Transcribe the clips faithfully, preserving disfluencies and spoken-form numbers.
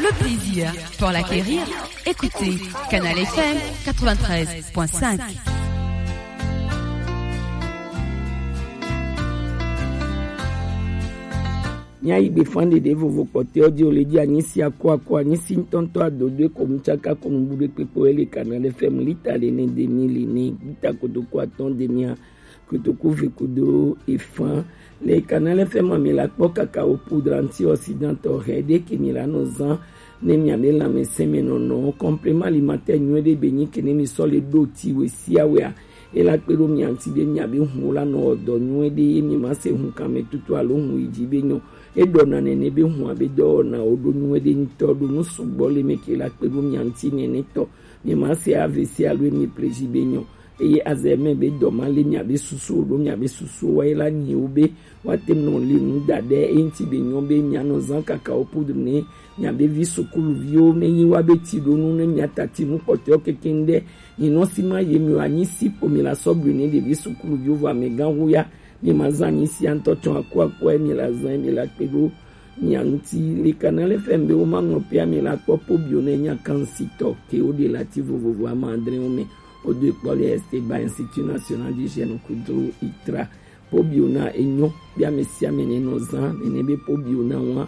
Le plaisir pour l'acquérir, écoutez Canal F M quatre-vingt-treize point cinq. Míayi gbefan ɖeɖe vovo kpɔtɔewo ji o le ji anyisi akuaku anyisi ŋutɔŋutɔ adodoe ko nutsaka ko nubu ɖe kpekpe le Canal F M lita le ne demi li ne lita kotoku atɔ̃ demia kotoku ve kudo efan. Le Canal F M mi la kpɔ kakao poudre antioxydant hɛ ɖe ke mi la nɔ zan ne mia be lãmesẽ me nɔnɔ complément alimentaire nyuie ɖe be nyi ke ne mi sɔ le ɖo ti we sia wea. E la kpe ɖo mia ŋuti be mia be hun la nɔ wɔ dɔ nyuie ɖe ye mi ma se hun kan me tutu alo hun yi dzi be nyɔ. E ɖɔ na nene be hun abe dɔwɔna wo ɖo nyuie ɖe ŋutɔ ɖo nu sugbɔ le me ke la kpe ɖo mia ŋuti nene tɔ. Mi ma se A V C alo mi pleji be nyɔ. Eye azɛ mɛ be dɔ ma le mia be susu ɖo mia be susu wa ye la nyi wo be wa te nɔ li nu da ɖe e ŋuti be nyɔ be mia nɔ zan kakao poudre ne mia be vi sukuluviwo ne nyi wa be ti ɖo nu ne mia tati nu kpɔtɔewo keke ŋu ɖe nyi nɔ si ma ye mi wa nyi si kpo mi la sɔ blu ne ɖevi sukuluviwo vɔ amegã hu ya mi ma zan nyi sia ŋutɔ tsɔ aku aku mi la zan mi la kpe ɖo mia ŋuti le Canal F M be wo ma ŋlɔ pia mi la kpɔ pobio ne nya kan si tɔ ke wo ɖe la ti vovovo ama adre wo me wo do kpɔ le Esteba Institut National du Jeune kudo itra. Pobio na enyo bia me sia me ne nɔ zan nene be pobio na wa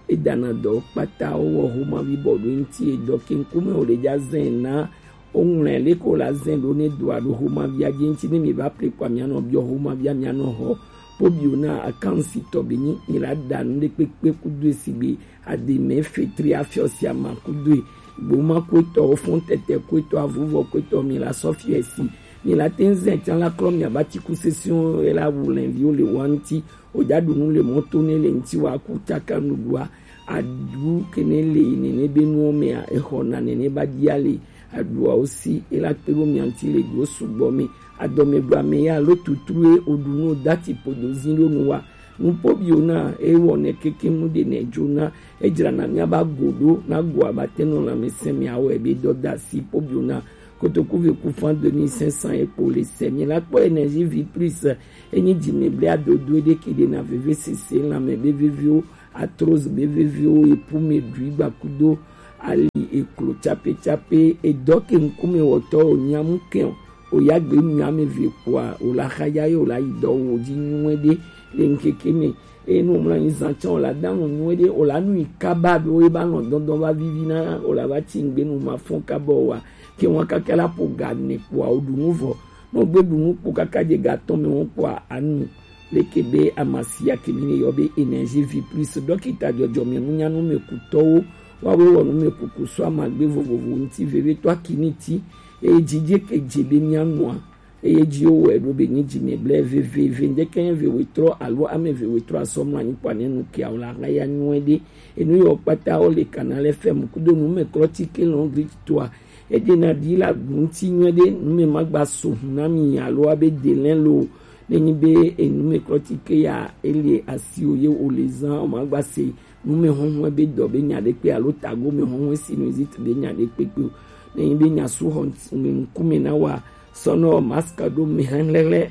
edana dɔ kpata wo wɔ homa vi bɔ ɖo ŋuti edɔ ke ŋkume wo le dza zɛn na wo ŋlɛ le ko la zɛn ɖo ne do aɖo homa via dzi ŋuti ne mi va ple kpa mia nɔ biɔ homa via mia nɔ hɔ pobio na akan si tɔ be nyi mi la da nu ɖe kpekpe kudo esi be ademe fetri afiɔ sia ma kudo e gboma kuetɔ ofɔn tɛtɛ kuetɔ avuvɔ kuetɔ mi la sɔfiɛ si mi la te ŋu zɛ tiã la klɔ mia ba ti ku sesiwo e la wu lɛnviwo le wa ŋuti o ja ɖu nu le mɔto ne le ŋuti wa ku caka nuɖua aɖu ke ne le nene be nuwo mea exɔ na nene ba dia le aɖuawo si e la kpe ɖo mia ŋuti le ɖuwo sugbɔ me adɔme ɖu ame ya lo tutru e o ɖu nu o da ti podo zi ɖo nu wa Nu pobio na e wɔnɛ keke mu ɖe nɛ jo na e dzra na mia ba go ɖo na go aba te nɔ lãmesẽ mia wɔ ebe dɔ da si pobio na kotoku ve ku fan deux mille cinq cents e kpo le sɛ mi la kpɔ énergie vie plus e nyi dzi me ble adodo ɖe ke ɖe na veve sese lãme be veviwo atroz be veviwo e pu me ɖui gba kudo ali e klo tsape tsape e dɔ ke ŋkume wɔtɔ o nyamu ke o O ya gbe nu ame eve kpoa, o la xadza ye o la yi dɔ wo dzi nyuie ɖe le ŋkeke me. Eye ne o mlɔ anyi zã tsã, o la da nu nyuie ɖe, o la nu yi kaba ɖo ye ba nɔ dɔndɔn va vivi na o la va tsi ŋgbe nu ma fɔn kaba o wa. Ke ŋua kaka la ƒo ga ne kpoa, o ɖu nu vɔ. Ne o gbe ɖu nu kpo kaka dze ga tɔn me ŋu kpoa, anu. Leke be amasia ke mi ne yɔ be énergie vie plus dɔkita dzɔdzɔme nunyanu me kutɔwo wa wo wɔ nu me kuku so amagbe vovovo ŋuti veve to akini ti eye dzidze ke dze be mia nua eye dzi wo wɔ eɖo be nyi dzi me ble veve ve ŋdeke nye ve wetrɔ alo ame ve wetrɔ asɔ mla nyi kpa ne nu kia o la ha ya nyuie ɖe enu yɔ kpata wo le Canal F M kudo nu me klɔ ti ke lɔn gri toa ede na di la ŋuti nyuie ɖe nu me ma gba so hu na mi alo abe delɛn lo Ne nyi be enumɛklɔtike ya ele asiwò ye wòle zã o, magba se numɛhɔhɔe be dɔ be nya ɖekpe alo tagomɛhɔhɔe sinusite be nya ɖekpekpe o. Ne nyi be nya su xɔ ŋkume na wa sɔnɔ mask ɖo mɛ hɛhlɛhlɛ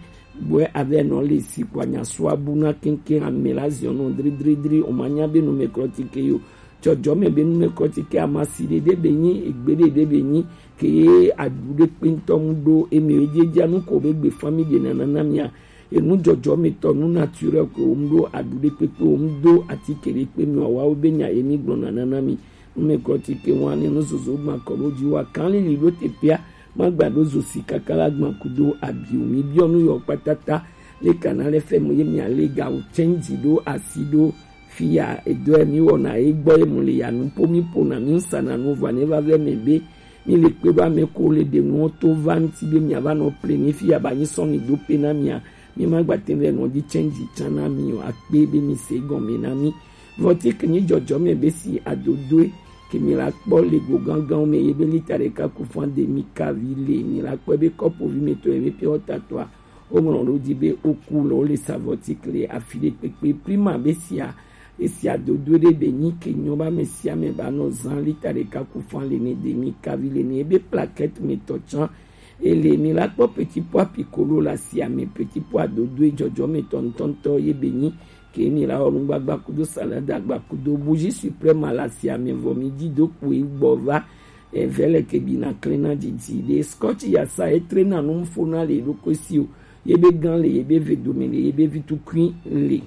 bɔɛ avɛ nɔ le si kɔ nya su abu na keŋkeŋ ame la ziɔ nɔ dridridri o, manya be numɛklɔtike yo. Dzɔdzɔme be numɛklɔtike amasi ɖe ɖe be nyi egbe ɖe ɖe be nyi ke ye aɖu ɖe kpe ŋutɔ ŋu ɖo eme ye dzedzia nu ko be gbe famille ɖe nana na mia. Enu dzɔdzɔmetɔ nu naturel ko wo mu ɖo aɖu ɖe kpekpe wo mu do atike ɖe kpe mi wawa wo be nya ye mi gblɔ nana na mi. Numɛklɔtike wa ne nu zozo gba kɔ ɖo dzi wa kan lili ɖo teƒea magba ɖo zo si kaka la gba kudo abi o. Mi biɔ nu yɔ kpatata le kana le fɛ mo ye mia le ga o change ɖo asi ɖo Fiya edɔe mi wɔna ye gbɔ ye mu le ya nu po mi pona mi ŋsana nu vɔ ne va vɛ mɛ be mi le kpe ɖo ame ko le ɖe nuwo to va ŋuti be mia va nɔ ple ni fiya ba nyi sɔ mi do pe na mia mi ma gba te vɛ nɔ dzi change tsa na mi o akpe be mi se gɔme na mi. Vɔ ti ke nyi dzɔdzɔme be si adodoe ke mi la kpɔ le go gangan me ye be lita ɖeka ku fan de mi ka vi le mi la kpɔ be kɔpo vi me to ye be pe wɔ tatɔa Woŋlɔ ɖo dzi be woku le wo le sa vɔtike le afi ɖe kpekpe. Prima be sia esia dodo ɖe be nyi ke nyɔ ba ame sia ame ba nɔ zã lita ɖeka ku fan le ne de mi kavi le ne ebe plaquette me tɔ tsã. Ele mi la kpɔ petit pois piccolo la sia me petit pois dodo e dzɔdzɔ me tɔ ŋutɔŋutɔ ye be nyi ke mi la wɔ nugbagba kudo salada gba kudo bougie suprême à la sia mi vɔ mi di do kpo e gbɔ va. Evɛ lɛ ke bi na klena didi de scotch ya sa e tre na nu fo na le do ko si o. Ye be gan le, ye be ve dome le, ye be vi tukui le.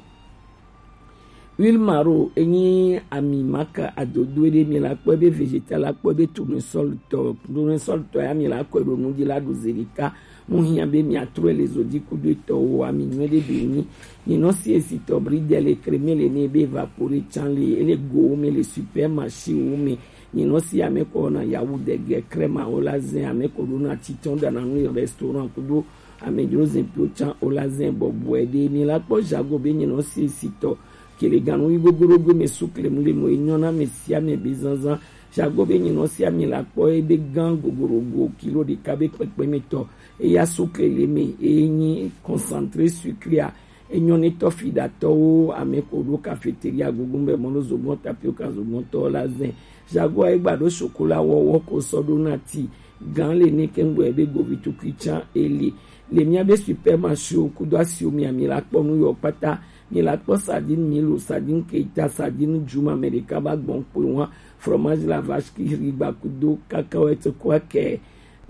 Huile maro enyi ami maka adodo ɖe mi la kpɔ ebe vegetal la kpɔ ebe tournesol tɔ tournesol tɔ ya mi la kɔe ɖo nu dzi la ɖo zeli ka. Mu hiã be mi atrɔe le zodi kudo etɔwo ami nyuie ɖe be nyi. Mi nɔ si esi tɔ bridel le creme le ne ebe vapore can le ele gowo me le supermarché wo me. Mi nɔ si ame kɔ na yawu dege crème awo la zɛ ame kɔ ɖo na titɔn ɖana nu le restaurant kudo amedzro zẽpiwo tsã o la zẽ bɔbɔe ɖe mi la kpɔ jago be nyinɔ sesitɔ kele ganu yi gogorogo me sukle mu le mo enyɔ na me sia me be zanzan jago be nyinɔ sia mi la kpɔ ebe gan gogorogo kilo ɖeka be kpekpe me tɔ eya sukle le me eye nyi concentré sucré a enyɔ ne tɔ fi ɖatɔwo ame ko ɖo cafeteria gogo be mɔno zogbɔn tapioca zogbɔn tɔ la zẽ jago a egba ɖo chocolat wɔwɔ ko sɔ ɖo na ti gan le ne kengbe be govi tukui tsã eli le mia be supermarché o kudo asio mia mi la kpɔ nu yɔ kpata mi la kpɔ sardine milo sardine keita sardine juma amerika ba gbɔn kpe wa fromage la vache qui rit gba kudo cacahuète quoi que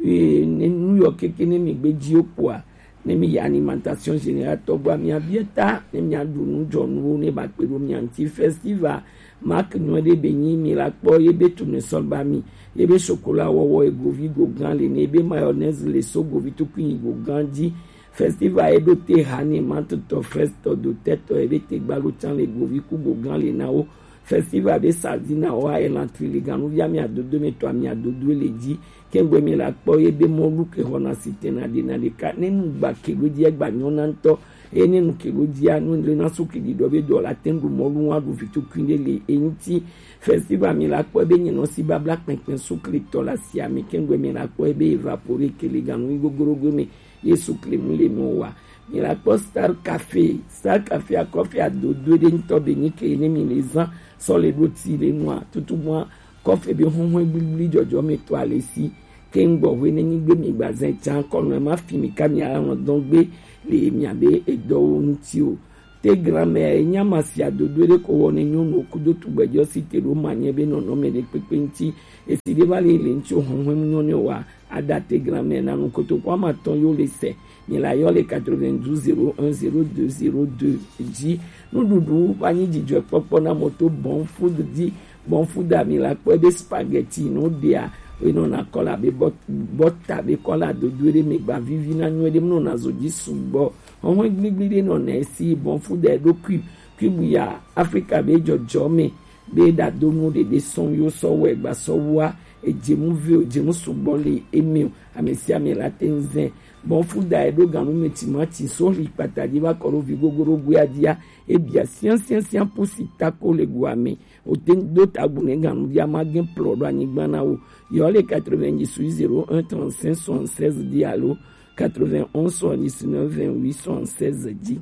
eh, ne nu yɔ keke ne mi gbe dzi o kpoa ne mi yi alimentation générale tɔgba mia bia ta ne mia ɖu nu dzɔnuwo ne ba kpe ɖo mia ŋuti festival Mark nyuie ɖe be nyi mi la kpɔ ye be tournesol ba mi ye be chocolat wɔwɔ egovi go gan le ne ye be mayonnaise le so govi tukui yi go gan dzi. Festival ye ɖo te ha ne ma tutɔ frestɔ do tetɔ ye be te gbalo can le govi ku go gan le na wo. Festival be sardine wa elan tri le ganu via mi adodo me to ami adodo le dzi. Kengbe mi la kpɔ ye be mɔlu ke xɔna sitena ɖena ɖeka ne nu gba ke ɖo dzi egba nyɔna ŋutɔ eye ne nu ke ɖo dzia nu le na su ke ɖiɖɔ be dɔ la te ŋu ɖu mɔlu wa ɖu vitukui ɖe le eŋuti. Festival mi la kpɔ be nyinɔ si babla kpɛnkpɛn su kletɔ la sia mi kengbe mi la kpɔ be evapore ke le ganu yi gogorogo me ye su kle mu le mi wa. Mi la kpɔ star cafe star cafe akɔfe adodo ɖe ŋutɔ be nyi ke ne mi le zan sɔ le ɖo ti le nua tutu mua kɔfe be huhun gbligble dzɔdzɔ me to ale si ke ŋgbɔ hwe ne nyigbe mi gbazɛ tsa kɔnɔ ma fi mi ka mi ala ŋɔ dɔn gbe le mi abe edɔwo ŋuti o. Te grand-mère enya ma si adodo ɖe ko wɔ ne nyɔnu kudo tugbɛjɔ si te ɖo ma nye be nɔnɔme ɖe kpekpe ŋuti esi ɖe va le le ŋuti o huhun nyɔnu wa ada te grand-mère na nu kotoku ama tɔn yo le se. Mi la yɔ le quatre-vingt-douze zéro un zéro deux zéro deux dzi. Nuɖuɖu va nyi dzidzɔkpɔkpɔ na moto bon food dzi. Bon food a mi la kpɔ ebe spaghetti no ɖea. Enɔna kɔla be bɔta be kɔla dodo ɖe mi gba vivi na nyuie ɖe mi nɔna zo dzi sugbɔ. Hɔhɔn gbigbi ɖe nɔna esi bon food a eɖo cube cube ya Afrika be dzɔdzɔ me be ɖadonu ɖeɖe sɔn yo sɔ wɔ egba sɔ wua edzemu ve o dzemu sugbɔ le eme o ame sia ame la te ŋu zɛ. Bon food a eɖo ganu me timati so li kpata dzi va kɔ ɖo vi gogoro goe a dzia ebia siansiansian pusi tako le goa me o te ŋu do tagu ne ganu via ma gɛ plɔ ɖo anyigba na wo. Yɔ le quatre-vingt-dix-huit zéro un trente-cinq soixante-seize dzi alo quatre-vingt-onze soixante-dix-neuf vingt-huit soixante-seize dzi.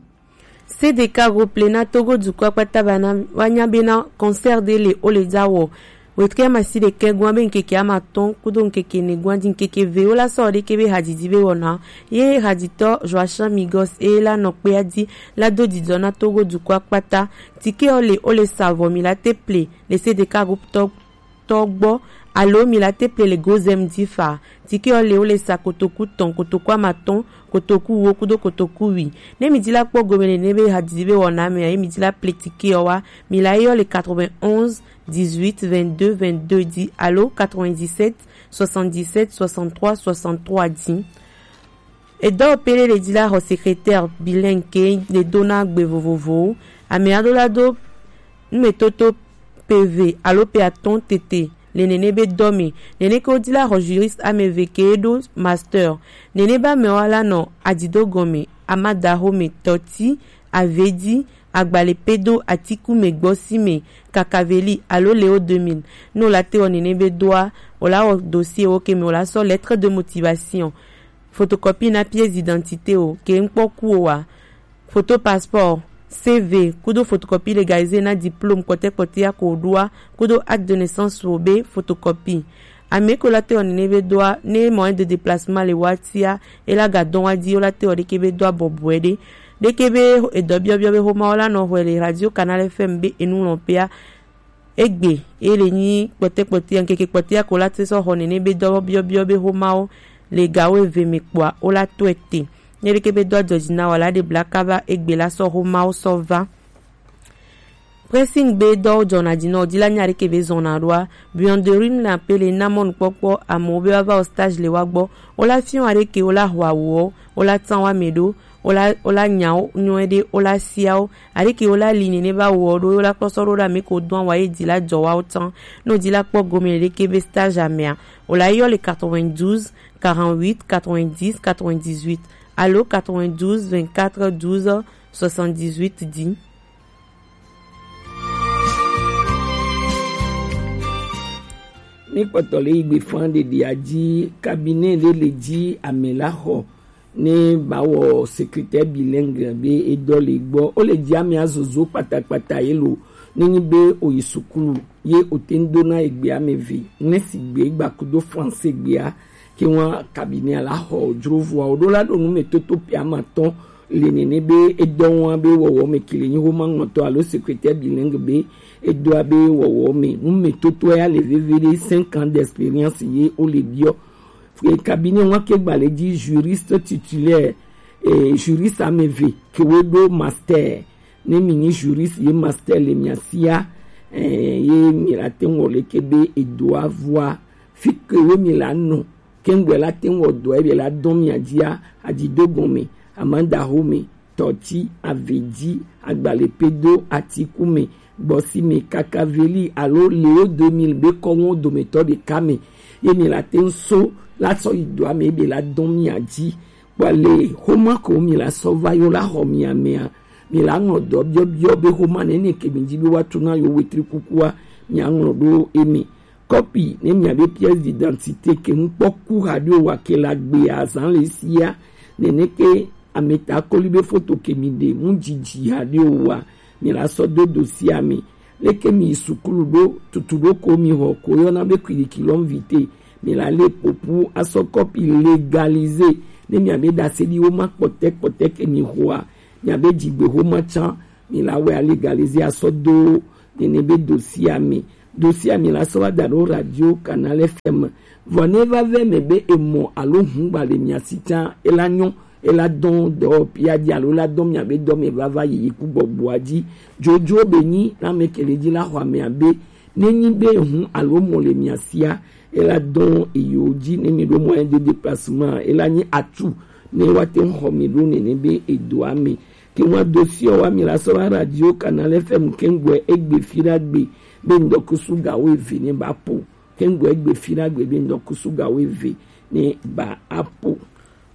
C D K Group le na Togo dukɔ kpata bana wanya bena concert de le ole dza wɔ. Wetrɛ ma si ɖekɛ gua be ŋkeke ama tɔn kudo ŋkeke ne gua di ŋkeke ve wo la sɔ ɖeke be hadidi be wɔna. Ye haditɔ Joachim Migos e la nɔ kpea di la do didɔ na Togo dukɔ kpata. Tike o le ole savɔ mi la te ple le C D K Group tɔ tɔ gbɔ alo mi la te ple le gozem di fa. Tike ɔ le wo le sa kotoku tɔn kotoku amatɔn kotoku wo kudo kotoku wi. Ne mi di la kpɔ gome le ne be hadidi be wɔna mea ye mi di la ple tike ɔ wa mi la yɔ le quatre-vingt-onze dix-huit vingt-deux vingt-deux di alo quatre-vingt-dix-sept soixante-dix-sept soixante-trois soixante-trois di. Edɔ pele le di la xɔ secrétaire bilingue ke le do na gbe vovovowo. Ame aɖo la do numetoto P V alo pe atɔ̃ tete le nene be dɔ me. Nene ke wodi la xɔ juriste ame eve ke ɖo master. Nene be amewo la nɔ adido gɔme, amadaxome, tɔti, avedi, agbalepedo, atikume, gbɔsime, kakaveli alo leo deux mille. Ne wola te wɔ nene be doa, wola wɔ dossier wo ke me wola sɔ lettre de motivation, photocopie na pièce d'identité wo ke ŋkpɔ ku wo wa. Photo passeport, C V, kudo photocopie légalisée na diplôme kpɔtɛkpɔtɛ ya ko ɖoa, kudo acte de naissance wo be photocopie. Ame ko la te wɔ nene be doa, ne moyen de déplacement le wa tia, e la ga dɔn wa di, o la te wɔ ɖeke be doa bɔbɔe ɖe. Leke be edɔ biɔbiɔ be xoma wo la nɔ xɔe le Radio Canal F M be enu lɔn pea egbe e le nyi kpɔtɛ kpɔtɛ ŋkeke kpɔtɛ ko la te sɔ xɔ nene be dɔ biɔbiɔ be xoma wo le gawo eve me kpɔa wo la tɔe te. Ne leke be dɔ jɔji na wa la de bla kaba egbe la sɔ xoma wo sɔ va. Pressing be dɔwo jɔna ji nɔ, o di la nya ɖeke be zɔna ɖoa, buanderie la pe le na mɔnukpɔkpɔ amewo be woava wɔ stage le wa gbɔ. Wo la fiɔ aɖeke wo la xɔ awuwo, wo la tan wa me ɖo, wo la wo la nya wo nyuie ɖe, wo la sia wo. Aɖeke wo la li nene ba wɔ ɖo, wo la kpɔsɔ ɖo ɖe ame ko dɔn wa ye di la jɔ wa wo tan. No di la kpɔ gome ɖeke be stage amea, wo la yɔ le quatre-vingt-douze, quarante-huit, quatre-vingt-dix, quatre-vingt-dix-huit alo quatre-vingt-douze, vingt-quatre, douze, soixante-dix-huit di. Mi kpɔtɔ le yigbe fan ɖeɖi aji, cabinet ɖe le ji ame la xɔ ne ba wɔ secrétaire bilingue be edɔ le gbɔ. O le ji ame azozo kpatakpata ye lo, ne nyi be o yi sukulu ye o te ŋ do na egbe ame ve, ne si gbe gba kudo français gbea, ke ŋua cabinet la xɔ o jro vɔa o ɖo la ɖo nu me toto pe ama tɔn le nene be edɔ ŋua be wɔwɔ me ke le nyi xoma ŋɔtɔ alo secrétaire bilingue be edɔa be wɔwɔ me nu me toto ya le veve ɖe cinq ans d'expérience ye o le biɔ. E cabinet ŋua ke gba le ji juriste titulaire, e juriste ame ve ke wo ɖo master. Ne mi nyi juriste ye master le mia sia, e ye mi la te ŋɔ le ke be edɔa vɔa fi ke wo mi la nɔ Kɛŋgbɛ la te ŋ wɔ dɔɛ be la dɔn mia jia, ajidogbɔn me, amadaho me, tɔti, aveji, agbalepedo, atiku me, gbɔsi me, kakaveli alo leo deux mille be kɔŋwo dometɔ ɖeka me, ye mi la te ŋ so la sɔ yi dɔa me be la dɔn mia ji. Kpɔ le xoma ko mi la sɔ va yo la xɔ mia mea, mi la ŋlɔ dɔ biɔbiɔ be xoma nene ke mi ji be wa tu na yo wetri kukua, mia ŋlɔ ɖo eme. Kɔpi ne mia be pièce d'identité ke ŋkpɔ ku haɖe o wa ke la gbe azan le sia. Nene ke ameta koli be foto ke mi ɖe mu jiji haɖe o wa, mi la sɔ do dosia me. Leke mi yi sukulu ɖo tutu ɖo ko mi xɔ ko yɔna be kwidiki lɔ vite, mi la le popu asɔ kɔpi légalisé. Ne mia be ɖase ɖi wo ma kpɔtɛ kpɔtɛ ke mi xɔa, mia be jigbe xoma can mi la wɛ alégalisé asɔ do nene be dosia me. Dosia me la sɔ wa da ɖo radio Canal F M. Vɔ ne va vɛ me be emɔ alo hungba le mia si can, e la nyɔ, e la dɔn dɔ pia di alo la dɔn mia be dɔ me vava yi ku gbɔgbɔa ji. Jojo be nyi na me ke le ji la xɔ amea be ne nyi be hun alo mɔ le mia sia, e la dɔn eyo ji ne mi ɖo moyen de déplacement, e la nyi atu ne wa te ŋ xɔ mi ɖo nene be edoa me. Ke ŋua dosi ɔ wa mi la sɔ va radio Canal F M kɛŋgbɛ egbe fi ɖa gbe be ŋdɔkusu gawo eve ne ba po. Kɛŋgbɛ egbe fi ɖa gbe be ŋdɔkusu gawo eve ne ba apo.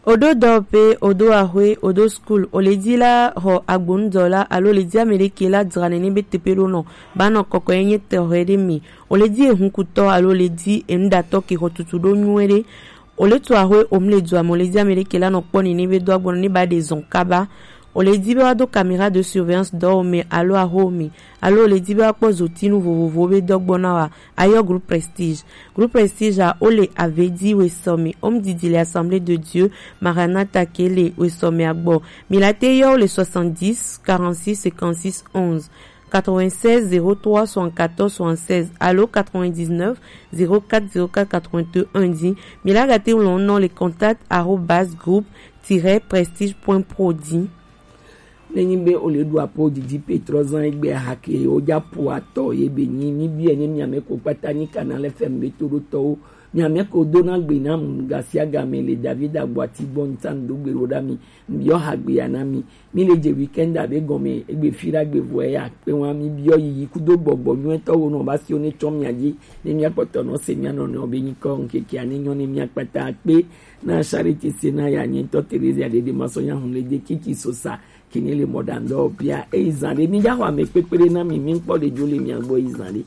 Odo dɔ pe odo ahwe odo school o le di la xɔ agbonudɔ la alo le di ame ɖeke la dzra nene be tepe ɖo nɔ ba nɔ kɔkɔ ye nye tɛxɛ ɖe mi. O le di ehunkutɔ alo le di enuɖatɔ ke xɔ tutu ɖo nyuie ɖe. O le tu axwe o mu le du ame, o le di ame ɖeke la nɔ kpɔ nene be do agbɔnɔ ne ba ɖe zɔn kaba. O le di be wa do caméra de surveillance dɔ o me alo axo o me, alo o le di be wa kpɔ zotinu vovovowo be dɔ gbɔ na wa, a yɔ groupe Prestige. Groupe Prestige a o le Avedi wesɔme, o mu didi le Assemblée de Dieu Maranatha ke le wesɔme a gbɔ. Mi la te yɔ o le soixante-dix, quarante-six, cinquante-six, onze. Quatre-vingt-seize, zéro trois, soixante-quatorze, soixante-seize alo quatre-vingt-dix-neuf, zéro quatre, zéro quatre, quatre-vingt-un di. Mi la ga te ŋlɔ nɔ le contact arobase groupe tiret prestige point pro di. Ne nyi be o le ɖu apo didi pe trɔ zan egbe hake o ja po atɔ ye be nyi mi biɛ ne mia me ko kpata nyi Canal F M be to ɖo tɔwo. Mia me ko do na gbe na mu gasia game le David Agbati gbɔ ntan do gbe ro da mi. Mi yɔ ha gbe ya na mi. Mi le je weekend abe gɔme egbe fi ɖa gbe vɔ ya kpe wa mi biɔ yiyi kudo gbɔgbɔ nyuietɔ wo nɔ ba si wo ne tsɔ mia dzi ne mia kpɔtɔ nɔ se mia nɔnɔewo be nyikɔ ŋkekea ne nyɔ ne mia kpata kpe na Charité se na ya nye ŋutɔ Theresia ɖeɖe ma sɔ nya hun le de kiki sosa kini le mɔɖaŋdɔ bia eyi zan ɖe mi dza xɔ ame kpekpe ɖe na mi mi ŋkpɔ ɖe dzo le mia gbɔ yi zan ɖe.